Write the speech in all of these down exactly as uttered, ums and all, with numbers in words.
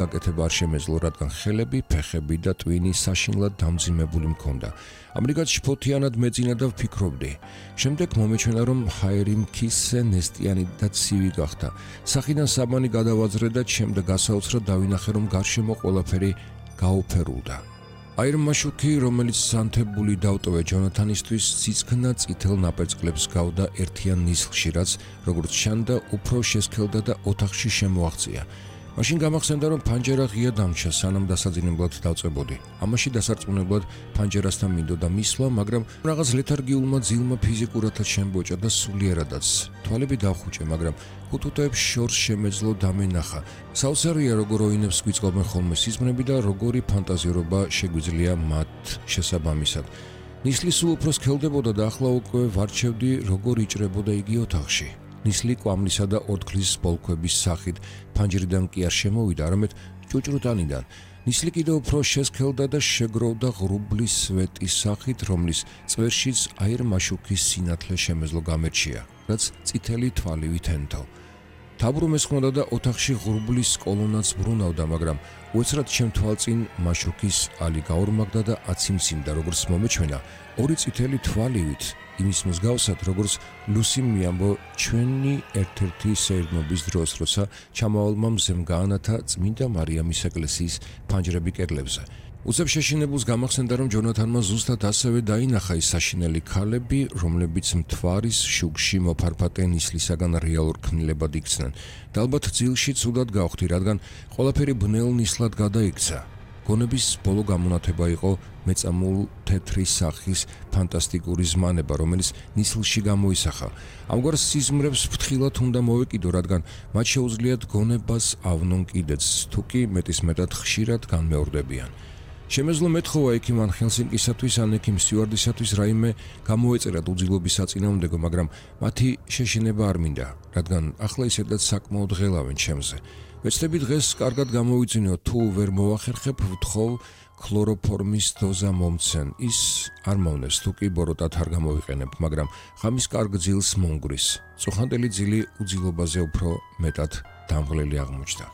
გაკეთება არ შემეძლო, რადგან ხელები, ფეხები და ტვინი საშინლად დამძიმებული მქონდა. ამრიგად შფოთიანად მეძინა და ვფიქრობდი. შემდეგ მომეჩვენა, რომ ჰაერი მქისზე ნესტიანი და ცივი გახდა. სახიდან საბანი გადავაძრე და შემდეგ გასაოცრად დავინახე, რომ გარშემო ყველაფერი გაუფერულდა. აირმაშუქი, რომელიც სანთებული დავტოვე ჯონათანისთვის, ციცქნა წითელ ნაპერწკლებს გავდა ერთიან ნისლში, რაც, როგორც ჩანდა, უფრო შესქელდა და ოთახში შემოაღწია. მაშინ გამახსენდა, რომ ფანჯერა ღია დამჩა, სანამ დასაძინებლად დავწებოდი. ამაში დასარწმუნებლად ფანჯერასთან მინდოდა მისვლა, მაგრამ რაღაც ლეთარგიულმა ძილმა ფიზიკურადაც შემბოჭა და სულიერადაც. თვალები დავხუჭე, მაგრამ ხუთუთოებს შორს შემეძლო დამენახა. საოცარია, როგორ ოინებს გვიწყობენ ხოლმე სიზმრები და როგორი ფანტაზიურობა შეგვიძლია მათ შესაბამისად. ნისლი სულ უფრო სქელდებოდა და ახლა უკვე ვარჩევდი, როგორ იჭრებოდა იგი ოთახში. ნისლი კვამლისა და ორთქლის ბოლქვების სახით ფანჯრიდან კი არ შემოვიდა, არამედ ჭუჭრუტანიდან. ნისლი კიდევ უფრო შესქელდა და შეგროვდა ღრუბლის სვეტის სახით, რომლის წვერშიც აირმაშუქის სინათლე შემეძლო გამერჩია, რაც წითელი თვალივით ენთო. თაბრუმ ესხმოდა და ოთახში ღრუბლის კოლონაც ბრუნავდა, მაგრამ უეცრად შემთვალწინ მაშუქის ალი გაორმაგდა და აციმციმდა, როგორც მომეჩვენა, ორი წითელი თვალივით, იმის მსგავსად, როგორც ლუსიმ მიამბო ჩვენი ერთ-ერთი სეირნობის დროს, როცა ჩამავალმა მზემ გაანათა წმინდა მარიამის ეკლესიის ფანჯრები კედლებზე. უცებ შეშინებულს გამახსენდა, რომ ჯონათანმა ზუსტად ასევე დაინახა ის საშინელი ქალები, რომლებიც მთვარის შუქში მოფარფატე ნისლისაგან რეალურ ქმნილებად იქცნენ. და ალბათ ძილში ცუდად გავხდი, რადგან ყველაფერი ბნელ ნისლად გადაიქცა. გონების ბოლო გამონათება იყო მეწამულ თეთრი სახის ფანტასტიკური ზმანება, რომელიც ნისლში გამოისახა. ამგვარ სიზმრებს ფრთხილად უნდა მოვეკიდო, რადგან მათ შეუძლიათ გონებას ავნონ კიდეც, თუ კი მეტისმეტად ხშირად განმეორდებიან. შემეძლო მეთხოვა ექიმ ან ჰელსინკისათვის ან ექიმ სტიუარდისათვის რაიმე გამოეწერა უძილობის საწინააღმდეგო, მაგრამ მათი შეშინება არ მინდა, რადგან ახლა ისედაც საკმაოდ ღელავენ ჩემზე. ვეცდები დღეს კარგად გამოვიძინო, თუ ვერ მოვახერხებ, ვთხოვ ქლოროფორმის დოზა მომცენ. ის არ მოვნეს, თუ კი ბოროტად არ გამოვიყენებ, მაგრამ ღამის კარგ ძილს მომგვრის. წუხანდელი ძილი უძილობაზე უფრო მეტად დამღლელი აღმოჩნდა.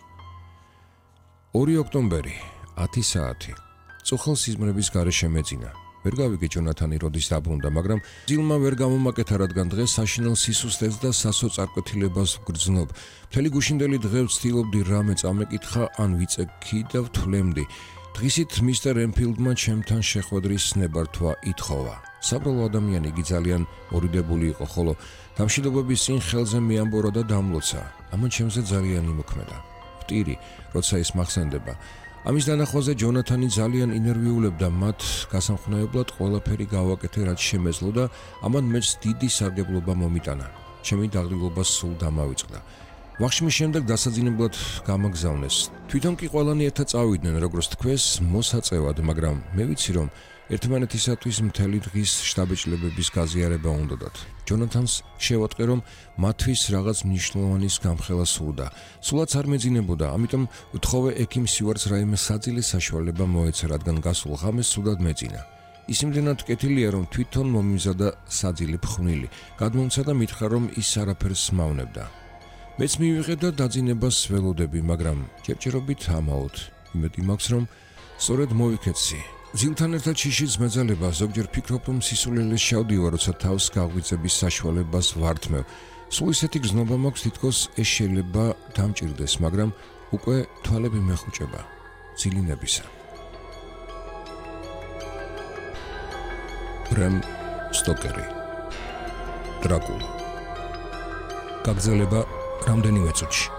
ორი ოქტომბერი, ათი საათი. წუხელ სიზმრების გარეშე მეძინა. ვერ გავიგე ჯონათანი როდის დაბრუნდა, მაგრამ ძილმა ვერ გამომაკეთა, რადგან დღეს საშინელ სისუსტეს და სასოწარკვეთილებას ვგრძნობ. მთელი გუშინდელი დღე ვცდილობდი რამე წამეკითხა ან ვიწექი და ვთვლემდი. დღისით მისტერ ენფილდმა ჩემთან შეხვედრის ნებართვა ითხოვა. საბრალო ადამიანი იგი ძალიან მორიდებული იყო, ხოლო დამშვიდობების წინ ხელზე მიამბორა და დამლოცა. ამან ჩემზე ძალიან იმოქმედა. ვტირი, როცა ის მახსენდება. ამის დანახვაზე ჯონათანი ძალიან ინერვიულებდა, მათ გასამხნევებლად ყველაფერი გავაკეთე, რაც შემეძლო და ამან მეც დიდი სარგებლობა მომიტანა. ჩემი დაღლილობა სულ დამავიწყდა. ვახშმის შემდეგ დასაძინებლად გამაგზავნეს. თვითონ კი ყველანი ერთად წავიდნენ, როგორც თქვეს, მოსაწევად, მაგრამ მე ვიცი, რომ ერთმანეთისათვის მთელი დღის შტაბეჭდილებების გაზიარება უნდოდათ. ჯონათანს შევატყე, რომ მათთვის რაღაც მნიშვნელოვანის გამხელა სურდა. სულაც არ მეძინებოდა, ამიტომ ვთხოვე ექიმ სტიუარტს რაიმე საძილის საშუალება მოეცა, რადგან გასულ ღამეს სუდად მეძინა. ის იმდენად კეთილია, რომ თვითონ მომიზადა საძილი ფხვნილი. გადმომცა და მითხრა, რომ ის არაფერს მავნებდა. მეც მივიღე და დაძინებას ველოდები, მაგრამ ჯერჯერობით ამაოდ. იმედი მაქვს, რომ სწორედ მოვიქეცი. ძილთან ერთად შიშიც მეძალება, ზოგჯერ ფიქრობ, რომ სისულელეს შავდივარ, როცა თავს გაღვიძების საშუალებას ვართმევ. სულ ისეთი გზნობა მაქვს, თითქოს ეს შეიძლება დამჭირდეს, მაგრამ უკვე თვალები მეხუჭება ძილინებისა. ბრემ სტოკერი, დრაკულა. გაგრძელება რამდენიმე წუთში.